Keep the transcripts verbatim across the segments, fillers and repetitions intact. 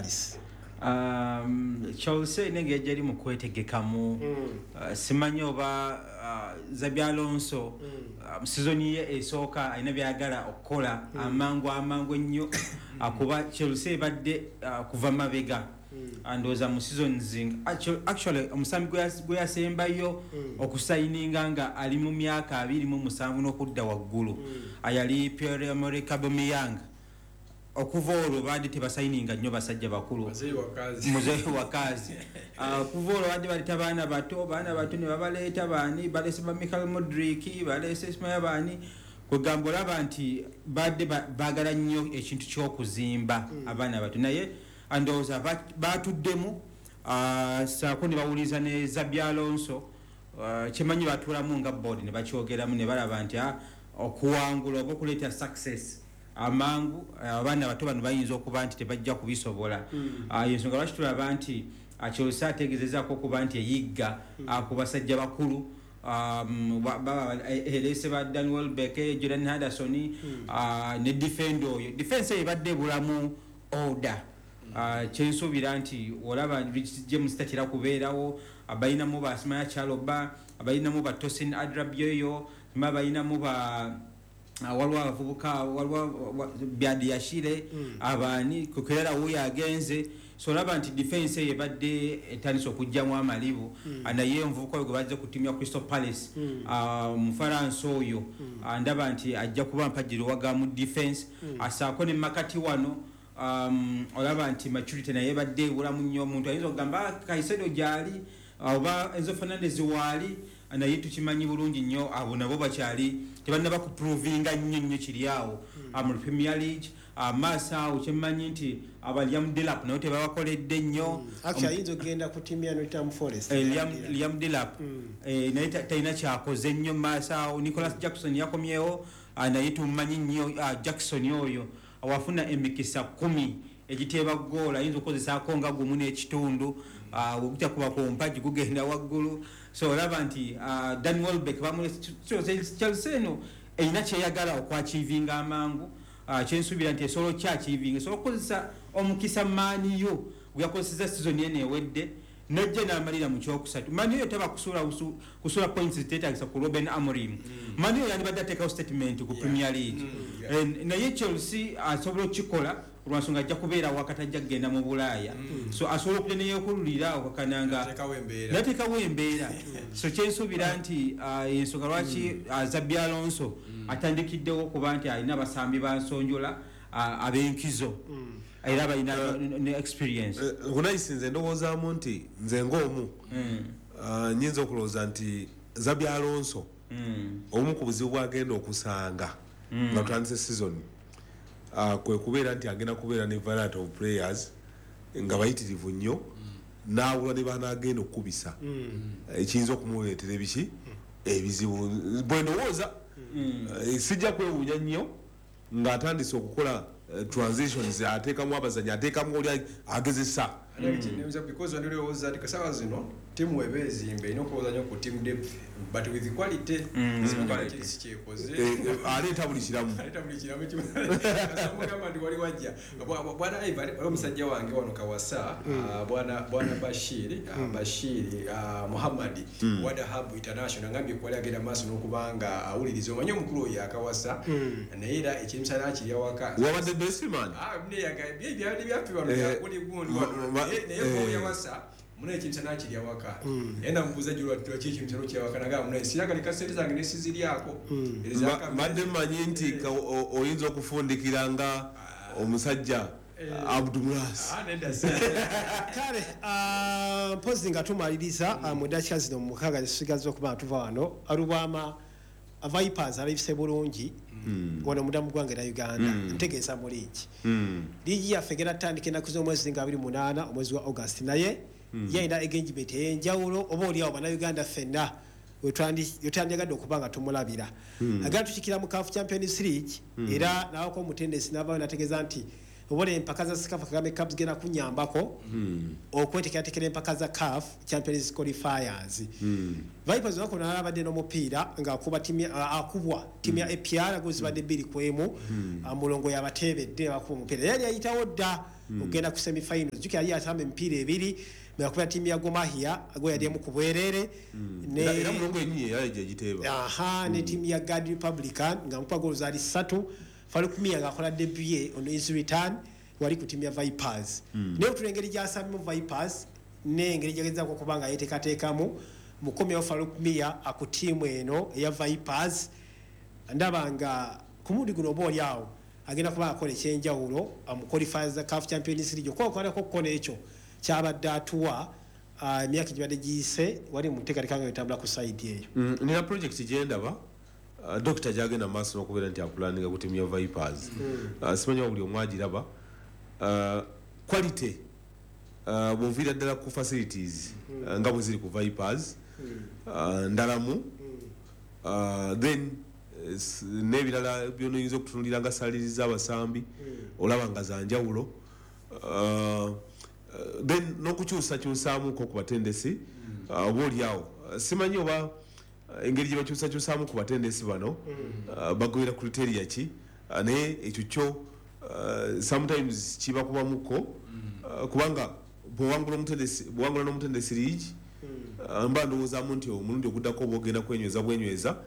Palace? Um, Chelsea nenge yajja eri mu kwetegekamu. Uh, simanyi oba uh, Xabi Alonso uh, mu sizoni ye esooka alina byayagala okukola amangu amangu ennyo, akuba Chelsea ebadde uh, kuva mabega. Ndowooza mu seasons actu- actually omusambi gwe yas- gwe yasembayo okusayininga nga ali mu myaka abiri mu musanvu n'okudda waggulu yali Pierre Emerick Aubameyang. Okuva olwo baadde tebasayininga nnyo basajja bakulu. Muzeeyi wakazi. Muzeeyi wakazi. Ah, kuva olwo badde baleeta baana bato, baana bato ne babaleeta. Baani baleese? Ba Michael Mudrik baleese, simaya baani. Kwegamba olaba nti badde ba- baagala nnyo ekintu ky'okuzimba abaana bato, naye ndowooza ba- batuddemu, ah, saako ne bawuliriza ne Xabi Alonso. Ah, kyemanyi batuulamu nga board ne bakyogeramu ne balaba nti ah, okuwangula oba okuleeta success amangu, abaana bato bano bayinza okuba nti tebajja kubisobola. Ah, ensonga lwaki tulaba nti ah, Chelsea ategezezaako okuba nti eyigga ah, ku basajja bakulu. Um, ba- ba- ereese ba Dan Welbeck, Jordan Henderson, ah, ne defender oyo. Defense eyo ebadde ebulamu order. Ah, kyensuubira nti olaba Reece James tatera kubeerawo, abalinamu ba Simaya Chaloba, abalinamu ba Tosin Adarabioyo, sima balinamu ba ah, waliwo abavubuka, waliwo wa- Badiashile, abaani Cucurella wuyo agenze. So olaba nti defense eyo ebadde etandise okugjamu amalibu. Ah, naye omuvubuka oyo gwe bazze ku ttiimu ya Crystal Palace, ah, Mufaransa oyo, ah, ndaba nti ajja kuba mpagirwaga mu defense. Asaako ne makati wano, um, olaba nti maturity naye ebadde ebulamu nnyo. Omuntu ayinza okugamba, "Ah, Caicedo gyali oba Enzo Fernandez waali," naye tukimanyi bulungi nnyo abo nabo bakyali tebannaba kuprovinga nnyo nnyo kiri awo ah, mu Premier League. Amaaso awo kyemmanyi nti aba Liam Delap nabo tebabakoledde nnyo. Actually ayinza okugenda ku ttiimu ya Nottingham Forest. Eh, Liam, Liam Delap eh, naye ta- talina kyakoze nnyo mu maaso awo. Nicholas Jackson yakomyewo, ah, naye tumumanyi nnyo, ah, Jackson oyo wafuna emikisa kumi egiteeba goola ayinza okukozesaako nga gumu n'ekitundu, ah, ogutakuba ku mpagi gugenda waggulu. So olaba nti ah, Dan Welbeck bamulese. Chelsea eno erina kyeyagala okwachievinga amangu. Ah, kyensuubira nti esobola okyachievinga, esobola okukozesa omukisa Man U gwe yakozeseza season eno ewedde najja n'amalira mu kyokusatu. Man U taba kusuula busu- kusuula points ziteetagisa ku Ruben Amorim. Man U yandibadde ateekawo statement ku Premier League. Eh, naye Chelsea asobola okukikola olwansonga ajja kubeera wakati, ajja kugenda mu Bulaaya, so asobola okujja neyekululira okakananga Ateekawo embeera. Nateekawo embeera. So kyensuubira nti ah, ensonga lwaki ah, Xabi Alonso atandikiddewo okuba nti alina abasambi bansonjola ah, ab'enkizo era balina ne experience. Hunayisi, nze ndowoozaamu nti nze ng'omu Mm, ah, nyinza okulowooza nti Xabi Alonso mm, obumu ku buzibu bwagenda okusanga nga tutandise season ah, kwe kubeera nti agenda kubeera ne variety of players nga bayitirivu nnyo, n'awula ne banaagenda okukubisa, ekiyinza okumuleetera ebiki ebizibu bwe ndowooza. Eh, sijja kwewuunya nnyo ng'atandise okukola eh, transitions, ateekamu abazanyi, ateekamu oli agezesa. Because wandilowooza nti kasaawa zino tiimu eba ezimba erina okulowooza nnyo ku team depth, but with quality. Quality. Si kyekoze. Eh, eh, aleeta buli kiramu. Aleeta buli kiramu kimu. Mugamba nti wali wajja Bwa- bwa- bwana Ivan, waliwo omusajja wange wano Kawasa, ah, bwana bwana Bashir, ah, Bashir ah, Muhammad wa Dahab International, ngambye kwali agenda maaso n'okubanga awuliriza. Omanyi omukulu oyo akawasa, naye era ekimisana kirya waka. Wabadde besiman. Ah, byabadde byaffe wano Eh, byakuli gundi ma- wano. ma- Naye- naye eh. ko yawasa muna ekimisana kirya waka, naye namubuuza jjo lwaki ekimisana kirya waka, nagamba muna siragalika sente zange nesiziryako. Mba- mbadde mmanyi nti ka- o- oyinza okufundikira nga omusajja Abdumulas. Kale ah, mpozi nga tumaliriza, ah, mu dakiika zino mukaaga zisigaza okuba nga tuva wano, Alubwama, Vipers alabise bulungi wano munda mu ggwanga era Uganda, ntegeeza mu liigi. Liigi yaffe egenda tutandika ennaku z'omwezi nga abiri munaana omwezi wa August, naye ye alina engagement ey'enjawulo oba oliawo Bannayuganda ffenna wetwandyagadde okuba nga tumulabira. Agenda tukikira mu CAF Champions League, era nawako omutendesi navayo nategeeza nti obola empaka za CECAFA Kagame Cup zigenda kunyambako okwetekeratekera empaka za CAF Champions qualifiers. Vipers olunaku lwalala abadde n'omupiira ng'akuba tiimu ya- akubwa tiimu ya A P R, go zibadde bbiri ku emu. Ah, Mulongo yabateebedde, bakuba omupiira yali ayitawo dda. Ogenda ku semifinals. Jjukira yali asamba emipiira ebiri yakuba ttiimu ya Gor Mahia gwe yali emu ku bwereere ne era Mulongo yennyini yali gyagiteeba. Aha, ne ttiimu ya Guard Republican nga mukuba goolo zaali ssatu. Farouk Miya ng'akola debut ye on his return wali ku ttiimu ya Vipers. Naye otula engeri gy'asambyemu Vipers n'engeri gy'agezaako okuba nga yeeteekateekamu mukomyewo Farouk Miya ku ttiimu eno eya Vipers, ndaba nga ku mulundi guno oba oli awo agenda kuba akola ekyenjawulo mu qualifiers za CAF Champions League okwokolako kko n'ekyo kyabadde atuwa emyaka egibadde giyise wali mu nteekateeka nga etambula ku sayidi eyo. Nina project gyendaba Dokita gyagenda mu maaso n'okubeera nti apulaninga ku ttiimu ya Vipers. Simanyi oba buli omu agiraba. Quality bw'oviira ddala ku facilities nga bwe ziri ku Vipers ndalamu, then n'ebirala by'onoyinza okutunuulira nga saliriza abasambi olaba nga za njawulo, then n'okukyusakyusaamuko ku batendesi oba oli awo simanyi oba engeri gye bakyusakyusaamu ku batendesi bano bagoberera criteria ki, naye ekyo kyo sometimes kibakubamuko kubanga bw'owangula omutendesi bw'owangula n'omutendesi liigi mba ndowoozaamu nti omulundi oguddako oba ogenda kwenyweza bwenyweza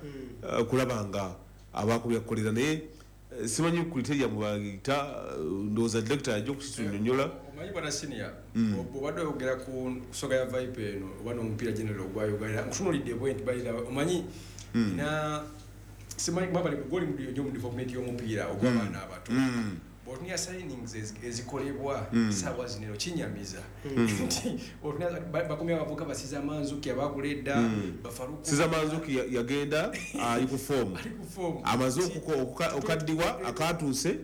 kulaba nga abaakubyakukolera, naye simanyi criteria mwe bayita, ndowooza director ajja okukitunyonnyola. Omanyi bwana senior, bw'obadde oyogera ku nsonga ya Viper eno oba n'omupiira general ogwa Uganda, nkutunuulidde bwe nti by the way omanyi na simanyi kuba bali goli nnyo mu development y'omupiira ogw'abaana abato. Bw'otunula signings ezikolebwa ssaawa zino eno kinyamiza nti bw'otunula bakomye abavubuka ba Siza Manzuki abaakula edda ba Faruku. Siza Manzuki yagenda ali ku form, ali ku form, amaze okaddiwa akatuuse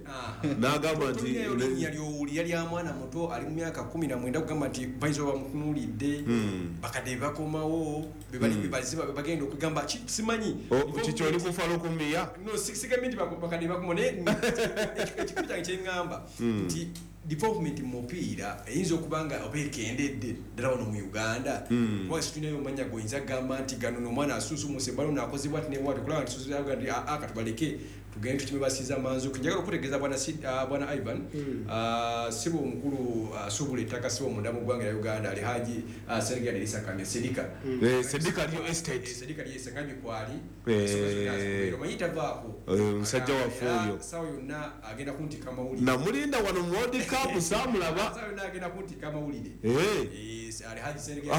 n'agamba nti erinnya ly'owulira lya mwana muto ali mu myaka kumi na mwenda kugamba nti bayinza oba bamutunuulidde, bakadde bakomawo bebali bebaziba bagenda okugamba simanyi kiki oli ku Faruku Miya. No, sigambye nti bakadde bakomawo, naye ekikumi kyange kyeŋŋamba nti development mu mupiira eyinza okuba nga oba ekendedde ddala wano mu Uganda, kubanga situlinayo omanya gwoyinza kugamba nti gano n'omwana asunsumuse balo naakozebwa ati newati okulaba nti sunsumuse nti aa katubaleke tugende tukime basiza Manzuki. Njagala okutegeeza bwana bwana Ivan, sibo omukulu asuubula ettaka sibo munda mu ggwanga lya Uganda Alhaji Sergei Adelisa Kamya Sedika. Sedika Real Estate. Sedika Real Estate ngambye kwali omanyi tavaako omusajja waffe oyo ssaawa yonna agenda kuntika amawulire. Namulinda wano mu World Cup saamulaba. Ssaawa yonna agenda kuntika amawulire. Alhaji Sergei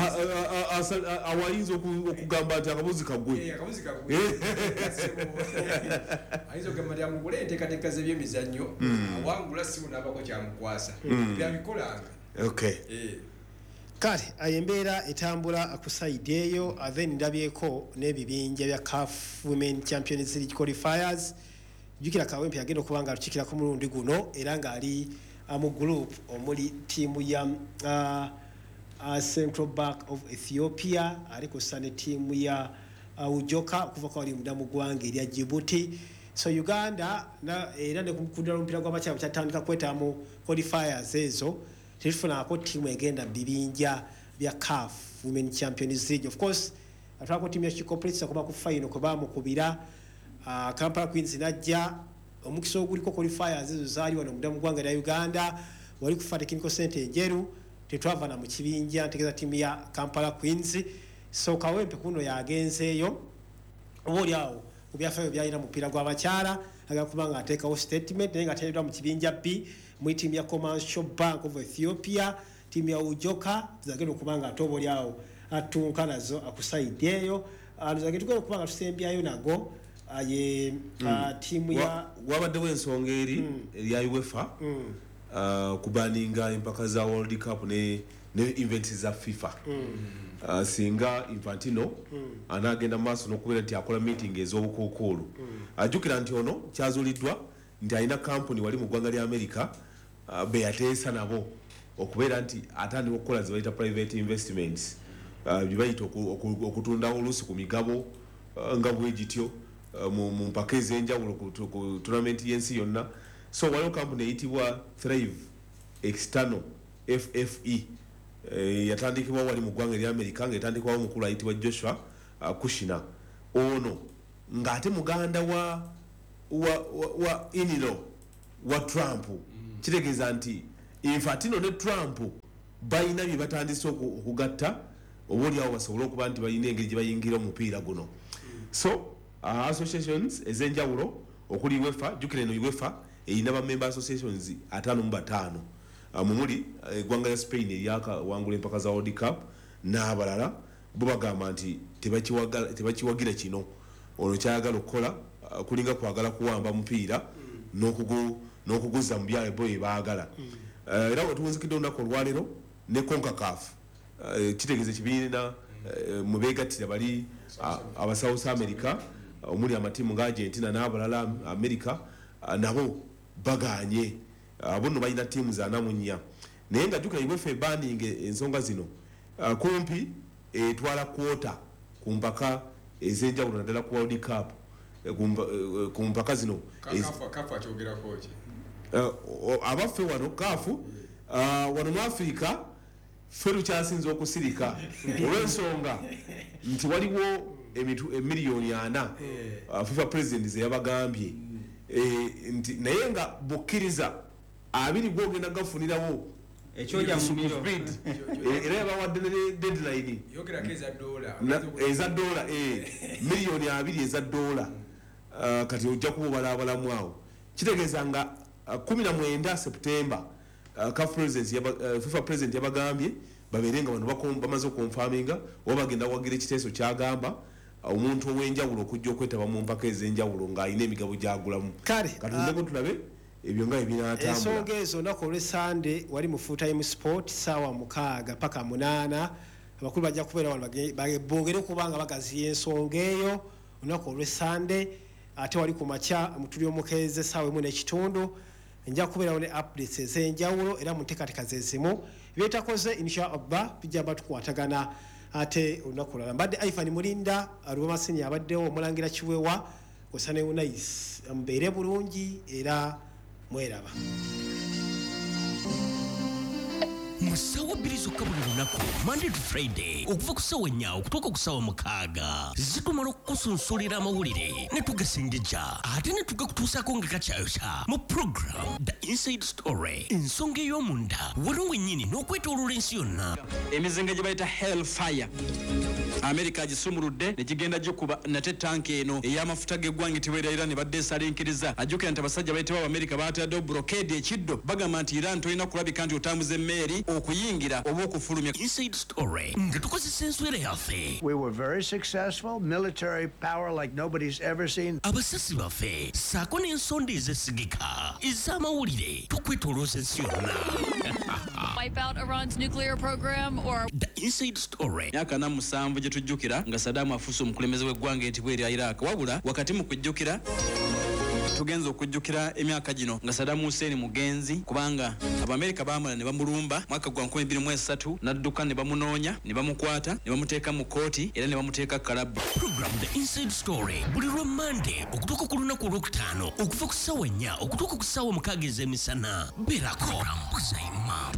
awayinza okugamba nti akabuzi kagwe. Akabuzi kagwe. Ayinza okugamba nti amugule enteekateeka z'ebyemizannyo awangula sibu n'abako kyamukwasa byabikolanga. Okay. Kale ayo embeera etambula ku sayidi eyo, then ndabyeko n'ebibinja bya CAF Women Champions League qualifiers. Jjukira Kawempe yagenda okuba nga alukiikira ku mulundi guno era ng'ali mu group omuli ttiimu ya uh, uh, Central Bank of Ethiopia, ali kussa ne ttiimu ya uh, Ujoka okuva ko wali munda mu ggwanga erya Djibouti. So Uganda na, era ne ku mupiira gw'abakyala kyatandika kwetaba mu qualifiers ezo, tetufunako ttiimu egenda mu bibinja bya CAF Women Champions League. Of course atwalako ttiimu ya She Corporates okuba ku final kwe baamukubira. uh, Kampala Queens najja omukisa oguliko qualifiers ezo zaali wano munda mu ggwanga lya Uganda, wali kufa Technical Center Enjeru, tetwava na mu kibinja ntegeeza ttiimu ya Kampala Queens. So Kawempe kuno yagenzeeyo oba oli awo ku byafaayo byalina mupiira gw'abakyala agala kuba nga ateekawo statement, naye nga ateereddwa mu kibinja B mu ttiimu ya Commercial Bank of Ethiopia, ttiimu ya Ujoka zagenda okuba nga ate oba oli awo atunka nazo akusayidi eyo. Zagenda tugenda okuba nga tusembyayo nago ye ttiimu ya wabaddewo ensonga eri erya UEFA kubaninga empaka za World Cup ne ne events za FIFA. Uh, singa Infantino mm. anagenda maaso n'okubeera nti akola meeting ez'obukookolo mm. Ajjukira nti ono kyazuuliddwa nti alina kampuni wali mu ggwanga lya America uh, be yateesa nabo okubeera nti atandika okukola ze bayita private investments, uh, bye bayita okutunda oluusi ku migabo uh, nga bwe gityo uh, mu, mu mpaka ez'enjawulo ku, ku tournament y'ensi yonna. So waliwo kampuni eyitibwa Thrive External F F E e, yatandikibwa wali mu ggwanga erya America nga etandikibwawo omukulu ayitibwa Joshua uh, Kushner. Ono ng'ate muganda wa wa, wa, wa inilo wa Trump. Mm. Kitegeeza nti Infantino ne Trump balina bye batandise okugatta oba oliawo basobole okuba nti balina engeri gye bayingira omupiira guno. So uh, associations ez'enjawulo okuli UEFA, jjukira eno UEFA erina ba member associations ataano mu bataano, uh, mumuli eggwanga lya Spain eryakawangula empaka za World Cup n'abalala, bo bagamba nti tebakiwagira kino. Ono kyayagala okukola uh, kulinga kwagala kuwamba mupiira n'okuguza mu byalo bo bye baagala. Uh, era wetuwunzikidde olunaku olwaleero ne CONCACAF, uh, kitegeeza ekibiina uh, mwe beegattira bali uh, aba South America, omuli amatiimu nga Argentina n'abalala America, uh, nabo baganye. Uh, bo nno balina ttiimu za ana mu nnya, naye nga jjukira UEFA ebaninga ensonga zino uh, kumpi etwala kwota ku mpaka ez'enjawulo naddala ku World Cup, ku mpaka zino. Abaffe wano kaafu wano mu Afrika ffe tukyasinze okusirika olw'ensonga nti waliwo emiliyoni ana FIFA president ze yabagambye nti naye nga bukkiriza abiri gwogenda gafunirawo ekyoja mumiro era yabawadde ne deadline eza dola miliyoni abiri eza dola. Kati ojja kuba abalamu awo kitegeeza nga kumi na mwenda September FIFA president yabagambye babeere nga bano bamaze okonfaminga oba bagenda wagira ekiteeso kyagamba omuntu ow'enjawulo okujja okwetaba mu mpaka ez'enjawulo ng'alina emigabo gy'agulamu. Katundeko tulabe ebyo nga ebinaatambula. Ensonga ezo olunaku olw'Essande wali mu Full Time Sport ssaawa mukaaga paka munaana, abakulu bajja kubeera wano boogere kubanga bagaziya ensonga eyo olunaku olw'Essande. Ate wali ku makya mutuli omukeeze ssaawa emu n'ekitundu nja kubeerawo ne updates ez'enjawulo era mu nteekateeka ze zimu byetakoze inshallah bijja batukwatagana ate olunaku olulala. Mbadde Ivan Mulinda Alubama Senior abaddewo omulangira Kiwewa osane Unais, mubeere bulungi era mweraba. Mu ssaawa bbiri zokka buli lunaku Monday to Friday okuva ku ssaawa nnya okutuuka ku ssaawa mukaaga zitumala okukusunsulira amawulire ne tugasengejja ate ne tugakutuusaako nga gakyayokya mu program The Inside Story, ensonga ey'omunda wano wennyini n'okwetooloola ensi yonna. Emizinga gye bayita Hellfire Amerika gisumuludde ne gigenda gikuba nate tanka eno ey'amafuta g'eggwanga etibwera Iran badde esalinkiriza. Ajjukira nti abasajja bayitibwa Abamerika baataddewo blockade ekiddo, bagamba nti Iran tolina kulabika nti otambuza emmeeri okuyingira oba okufulumya. Inside Story nga tukozesa enswera yaffe. We were very successful, military power like nobody's ever seen. Abasasi baffe ssaako n'ensonda ezesigika ez'amawulire tukwetoolooza ensi yonna. Wipe out Iran's nuclear program or The Inside Story. Myaka na musanvu gye tujjukira nga Saddam afuuse omukulembeze w'eggwanga etibwa erya Iraq, wabula wakati mu kujjukira tugenza okujjukira emyaka gino nga Saddam Hussein mugenzi, kubanga Abamerika baamala ne bamulumba mwaka gwa nkumi bbiri mu esatu n'adduka ne bamunoonya ne bamukwata ne bamuteeka mu kkooti era ne bamuteeka kalabba. Program The Inside Story buli lwa Monday okutuuka ku lunaku olwokutaano okuva ku ssaawa nnya okutuuka ku ssaawa mukaaga ez'emisana. Beerako Buzaima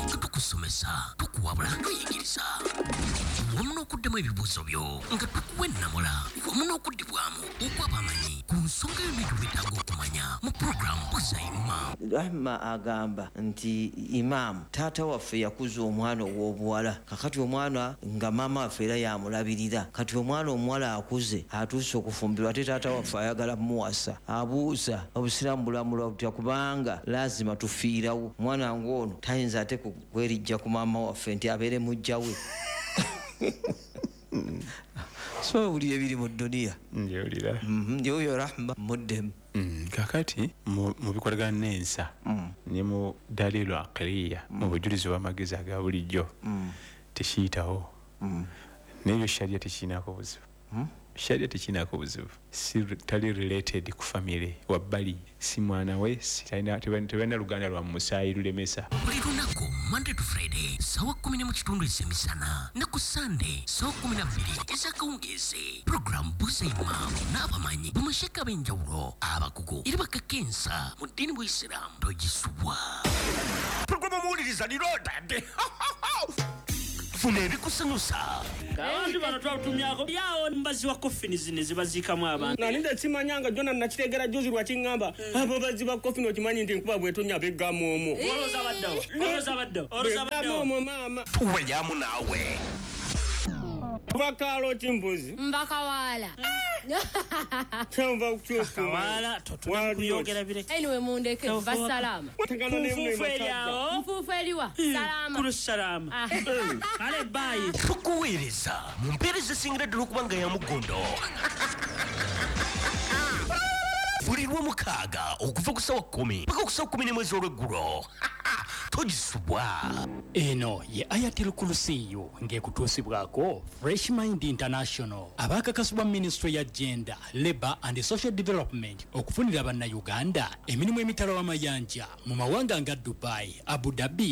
nga tukusomesa, tukuwabula, tuyigiriza wamu n'okuddamu ebibuuzo byo nga tukuwa ennamula wamu n'okuddibwamu okw'abamanyi ku nsonga yonna gy'obeetaaga okumanya mu program Buzaima. Rahma agamba nti imaamu taata waffe yakuza omwana ow'obuwala, kakati omwana nga maama waffe era yamulabirira, kati omwana omuwala akuze atuuse okufumbirwa ate taata waffe ayagala mmuwasa. Abuuza obusiraamu bulamulwa butya, kubanga laazima tufiirawo omwana ng'ono tayinza ate kwerijja ku maama waffe nti abeere mujja we. So buli ebiri mu dduniya njewulira njoyo Rahma muddemu. Kakati mu bikolagana n'ensa ne mu dalilu aqliya, mu bujulizi bw'amagezi aga bulijjo tekiyitawo, n'ebyo sharia tekirinako buzibu. Sharia tekirinako buzibu, si tali related ku family wabbali, si mwana we, tebalina luganda lwa musaayi lulemesa. Buli lunaku Monday to Friday ssaawa kkumi n'emu kitundu ez'emisana ne ku Sunday ssaawa kkumi na bbiri ez'akawungeezi. Program Buzaima n'abamanyi bamasheka ab'enjawulo abakugu era bakakensa mu ddiini bw'Isiraamu togisubwa. Program omuwuliriza lirodadde. Funa ebikusanyusa. Abantu bano twatumyako yawo mbazi wa coffin zino zibaziikamu abantu. Nalinda simanyanga jona nakitegera juzi lwakiŋŋamba abo bazzi ba coffin, okimanyi nti nkuba bwetonya beggamu omwo. Olowooza baddawo, olowooza baddawo, olowooza baddawo. Omwo maama. Tuwelyamu naawe. Bakaalo kimbuzi. Mbakawaala. Kyanva kukyusa. Kawaala totuyogera bireke. Anyway, mundeke basalama. Nfuufu eri awo. Nfuufu eriwa. Salama. Kulu salama. Kale bye. Tukuweereza mu mpeereza esingira ddala okuba nga ya muggondo. Buli lwomukaaga okuva ku ssaawa kkumi paka ku ssaawa kkumi n'emu ez'olweggulo. Togisubwa. Eno ye Ayatul Kursiyu ng'ekutuusibwako Fresh Mind International abakakasibwa Ministry ya Gender, Labour and Social Development okufunira bannayuganda emirimu emitala w'amayanja mu mawanga nga Dubai, Abu Dhabi.